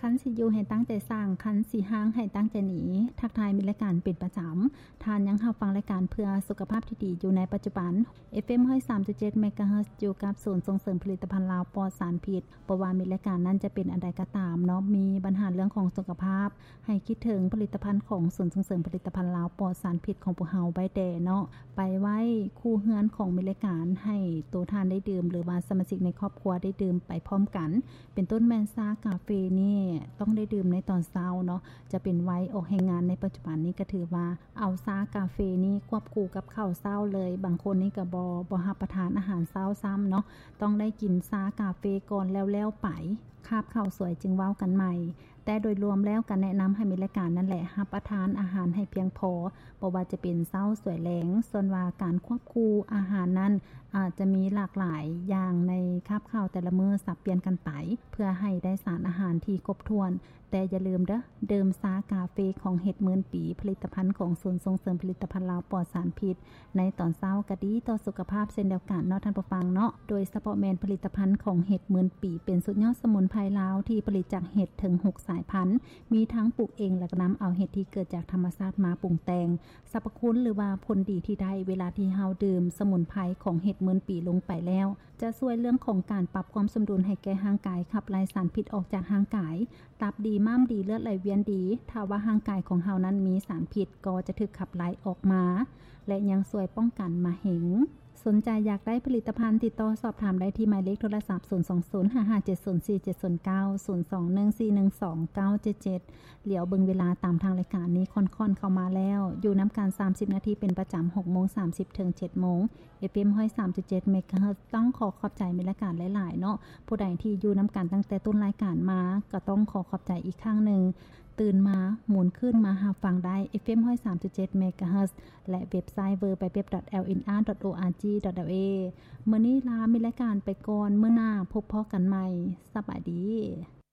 ຄັນຊິຢູ່ໃຫ້ຕັ້ງໃຈສ້າງ, ຄັນຊິຮ້າງໃຫ້ຕັ້ງໃຈໜີ. ທັກທາຍມິດລາຍການເປັນປະຈຳ. ທ່ານຍັງຮັບຟັງລາຍການເພື່ອສຸຂະພາບທີ່ດີຢູ່ໃນປັດຈຸບັນ ເອຟເອັມຮ້ອຍສາມຈຸດເຈັດເມກາເຮີດ ຢູ່ກັບສູນສົ່ງເສີມຜະລິດຕະພັນລາວປອດສານພິດ. ບໍ່ວ່າມິດລາຍການນັ້ນຈະເປັນອັນໃດກໍຕາມເນາະ, ມີບັນຫາເລື່ອງຂອງສຸຂະພາບ, ໃຫ້ຄິດເຖິງຜະລິດຕະພັນຂອງສູນສົ່ງເສີມຜະລິດຕະພັນລາວປອດສານພິດຂອງພວກເຮົາໄວ້ແດ່ເນາະ, ໄປໄວ້ຄູ່ເຮືອນຂອງມິດລາຍການ ໃຫ້ໂຕທ່ານໄດ້ດື່ມ ຫຼືວ່າສະມາຊິກໃນຄອບຄົວໄດ້ດື່ມໄປພ້ອມກັນ. ເປັນຕົ້ນແມ່ນຊາກາເຟນີ້ຕ້ອງໄດ້ດື່ມໃນຕອນເຊົ້າເນາະ, ຈະເປັນໄວອອກແຮງງານໃນປັດຈຸບັນນີ້ກໍຖືວ່າເອົາຊາກາເຟນີ້ຄວບຄູ່ກັບເຂົ້າເຊົ້າເລີຍ. ບາງຄົນນີ້ກໍບໍ່ ບໍ່ຮັບປະທານອາຫານເຊົ້າຊ້ຳເນາະ, ຕ້ອງໄດ້ກິນຊາກາເຟກ່ອນແລ້ວໆໄປ, ຄາບເຂົ້າສວຍຈຶ່ງເວົ້າກັນໃໝ່. ແຕ່ໂດຍລວມແລ້ວກໍແນະນຳໃຫ້ມິດລາຍການນັ້ນແຫຼະ ຮັບປະທານອາຫານໃຫ້ພຽງພໍ, ບໍ່ວ່າຈະເປັນເຊົ້າສວຍແລງ. ສ່ວນວ່າການຄວບຄູ່ອາຫານນັ້ນ ອາດຈະມີຫຼາກຫຼາຍຢ່າງໃນຄາບເຂົ້າແຕ່ລະມື້ສັບປ່ຽນກັນໄປ ເພື່ອໃຫ້ໄດ້ສານອາຫານທີ່ຄົບຖ້ວນ. ແຕ່ຢ່າລືມເດີ້, ດື່ມຊາກາເຟຂອງເຫັດໝື່ນປີ, ຜະລິດຕະພັນຂອງສູນສົ່ງເສີມຜະລິດຕະພັນລາວປອດສານພິດ ໃນຕອນເຊົ້າກໍດີຕໍ່ສຸຂະພາບເຊັ່ນດຽວກັນເນາະທ່ານຜູ້ຟັງເນາະ. ໂດຍສະເພາະແມ່ນຜະລິດຕະພັນຂອງເຫັດໝື່ນປີ ເປັນສຸດຍອດສະໝຸນໄພລາວທີ່ຜະລິດຈາກເຫັດເຖິງຫົກສາຍພັນ, ມີທັງປູກເອງ ແລະ ນຳເອົາເຫັດທີ່ເກີດຈາກທຳມະຊາດມາປຸງແຕ່ງ. ສັບພະຄຸນ ຫຼືວ່າຜົນດີທີ່ໄດ້ເວລາທີ່ເຮົາດື່ມສະໝຸນໄພຂອງເຫັດໝື່ນປີລົງໄປແລ້ວ ຈະຊ່ວຍເລື່ອງຂອງການປັບຄວາມສົມດຸນໃຫ້ແກ່ຮ່າງກາຍ, ຂັບໄລ່ສານພິດອອກຈາກຮ່າງກາຍ, ຕັບດີ, ມ້າມດີ, ເລືອດໄຫຼວຽນດີ. ຖ້າວ່າຮ່າງກາຍຂອງເຮົານັ້ນມີສານພິດ ກໍຈະຖືກຂັບໄລ່ອອກມາ ແລະ ຍັງຊ່ວຍປ້ອງກັນມະເຮັງ. ສົນໃຈຢາກໄດ້ຜະລິດຕະພັນ? ຕິດຕໍ່ສອບຖາມໄດ້ທີ່ໝາຍເລກໂທລະສັບ ສູນສອງສູນ ຫ້າຫ້າເຈັດສູນ ສີ່ເຈັດສູນເກົ້າ ສູນສອງໜຶ່ງສີ່ໜຶ່ງສອງເກົ້າເຈັດເຈັດ. ຫຼຽວເບິ່ງເວລາຕາມທາງລາຍການນີ້ຄ່ອນໆເຂົ້າມາແລ້ວ, ຢູ່ນຳກັນສາມສິບນາທີເປັນປະຈຳ, ຫົກໂມງສາມສິບເຖິງເຈັດໂມງ. ເອຟເອັມຮ້ອຍສາມຈຸດເຈັດເມກາເຮີດ ຕ້ອງຂໍຂອບໃຈມິດລາຍການຫຼາຍໆເນາະ. ຜູ້ໃດທີ່ຢູ່ນຳກັນຕັ້ງແຕ່ຕົ້ນລາຍການມາ ກໍຕ້ອງຂໍຂອບໃຈອີກຄັ້ງໜຶ່ງ. ຕື່ນມາໝູນຄືນມາຮັບຟັງໄດ້ ເອຟເອັມຮ້ອຍສາມຈຸດເຈັດເມກາເຮີດ ແລະ ເວັບໄຊ ເວີ ແປບແປບ ດອດ ແອລເອັນອາ ດອດ ໂອອາຈີ ດອດ ແອລເອ. ມື້ນີ້ລາມິດລາຍການໄປກ່ອນ, ມື້ໜ້າພົບພໍ້ກັນໃໝ່. ສະບາຍດີ.